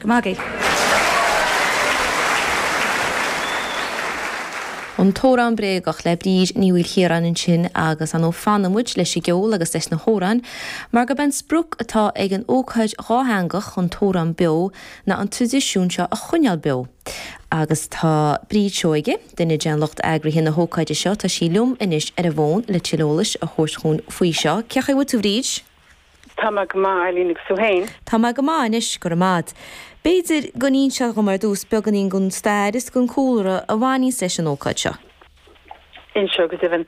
Go maith agaibh. An tAmhrán Bréagach le Bríd Ní Mhaoilchiaráin ansin agus ar ndóigh fanfaidh muid leis an gceol agus leis na hamhráin mar gurb é an sprioc atá ag an ócáid dhátheangach An tAmhrán Beo ná an traidisiún seo a choinneáil beo. Agus tá Bríd Seoige, duine den lucht eagraithe na hócáide seo, tá sí liom anois ar an bhfón le tuilleadh eolais a thabhairt dhúinn faoi seo. Cén chaoi a bhfuil tú a Bhríd? Tá mé go maith, Eileen, agus tú féin? Tá mé go maith anois, go raibh maith a'd. B'fhéidir go n-inseofá dhom ar dtús beagáinín den stair is den chúlra a bhaineanns leis an ócáid seo. Inseoidh, go deimhin.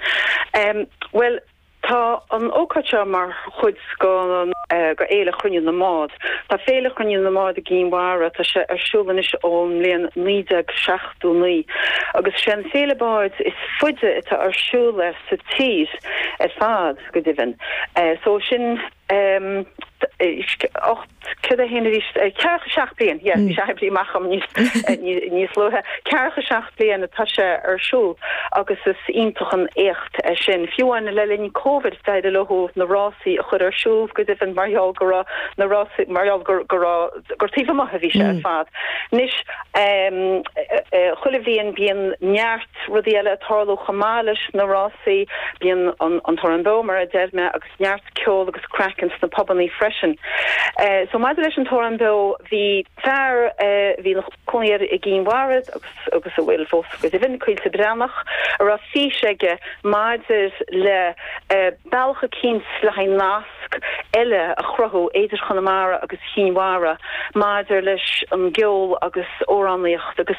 Bhuel, tá an ócáid seo mar chuid go Fhéile Chruinniú na mBád. Tá Féile Chruinniú na mBád i gCinn Mhara, tá sé ar siúl anois ón mbliain 1979 agus sé an féile báid is faide atá ar siúl sa tír ar fad. go deimhin. So sin 801 arís, 47 bliain, yeah, bhí sé oibrithe amach agam níos luaithe, 47 bliain atá sé ar siúl agus is iontach an éacht é sin. Fiú amháin le linn Covid d'éirigh leo na rásaí a chur ar siúl go deimhin mar gheall go raibh na rásaí, mar gheall go raibh, gur taobh amuigh a bhí sé ar fad. Anois, chuile bhliain bíonn neart rudaí eile ag tarlú chomh maith leis na rásaí. Bíonn an tAmhrán Beo, mar a deir mé, agus neart ceol agus craic ins na pubannaí freisin. So maidir leis an tAmhrán Beo, bhí fear a bhí ina chónaí i gCinn Mhara agus agus a bhfuil fós go deimhin, Caoilte Breathnach, a raibh fís aige maidir le bealach eicínt le haghaidh nasc eile a chruthú idir Chonamara agus Chinn Mhara maidir leis an gceol agus amhránaíocht agus.